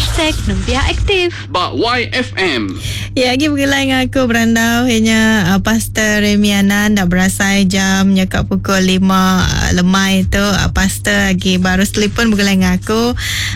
Hashtag Nembiak Aktif. Ba YFM. Ya agi begulai enggau aku berandau iya nya uh, Pastor Remy Anan enda berasai jam nya ka pukul 5 uh, lemai tu uh, pastor agi baru telefon begulai enggau aku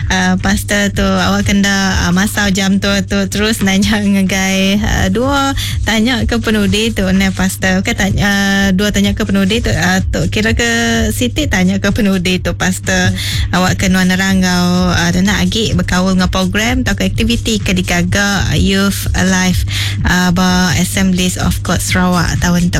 uh, pastor tu awak kenda uh, masau jam tu tu terus nanya ngagai uh, dua tanya ke penudi tu neh pastor okay tanya uh, dua tanya ke penudi tu uh, tu kira ke siti tanya ke penudi tu pastor awak ke nuan nerang enggau uh, nenak agi bekaul enggau program tauka aktiviti ke digaga Youth Alive uh, ba Assemblies of God Sarawak taun tu.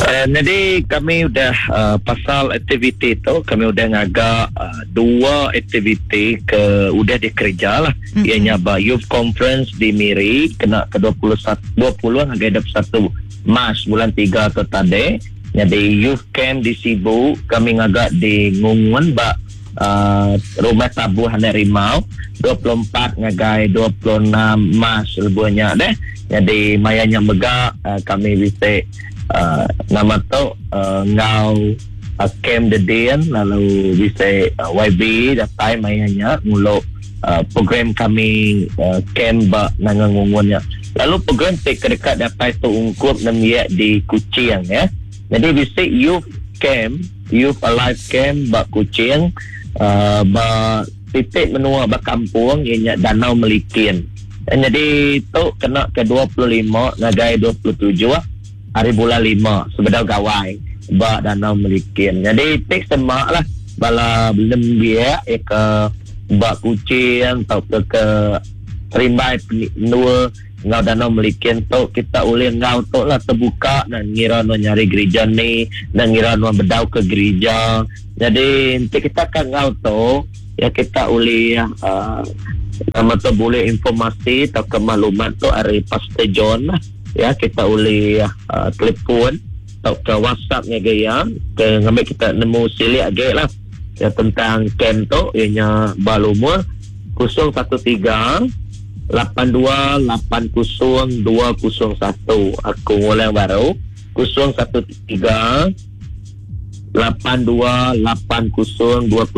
Uh, jadi kami udah uh, pasal aktiviti tu kami udah ngaga uh, dua aktiviti ke udah dikereja lah mm-hmm. Ianya ba Youth Conference di Miri kena ke 21 20 ngagai 21 Mac bulan 3 tu tadi. Jadi Youth Camp di Sibu kami ngaga di Ngungun ba uh, Rumah Tabuh Anak Rimau 24 ngagai 26 Mac lebuhnya deh. Jadi maya nya mega uh, kami bisi uh, nama tu uh, ngau uh, Camp Dedin lalu bisi uh, YB datai maya nya ngulu uh, program kami uh, camp ba Nanga Ngungun nya. Lalu program ti ke dekat datai tu ungkup nembiak di Kuching ya. Jadi bisi youth camp, Youth Alive Camp ba Kuching uh, ba titik menua ba kampung iya nya Danau Melikin. Dan jadi tu kena ke 25 ngagai 27 hari bulan 5 sebedau gawai ba Danau Melikin. Jadi tik semak lah bala nembiak ya ke ba Kuching atau ke ke Serimbai menua enggau Danau Melikin tu kita ulih enggau tu lah terbuka dan ngira nuan nyari gereja ni dan ngira nuan bedau ke gereja. Jadi nanti kita akan enggau tu ya kita ulih nama tu boleh informasi atau ke maklumat tu ari Pastor John lah. Ya kita ulih telefon atau ke WhatsApp ngagai ya ke ngambil kita nemu silik agi lah ya tentang camp tu ianya ba lumur 013 82 80 201. Aku ngulang baru 013 82 80 201.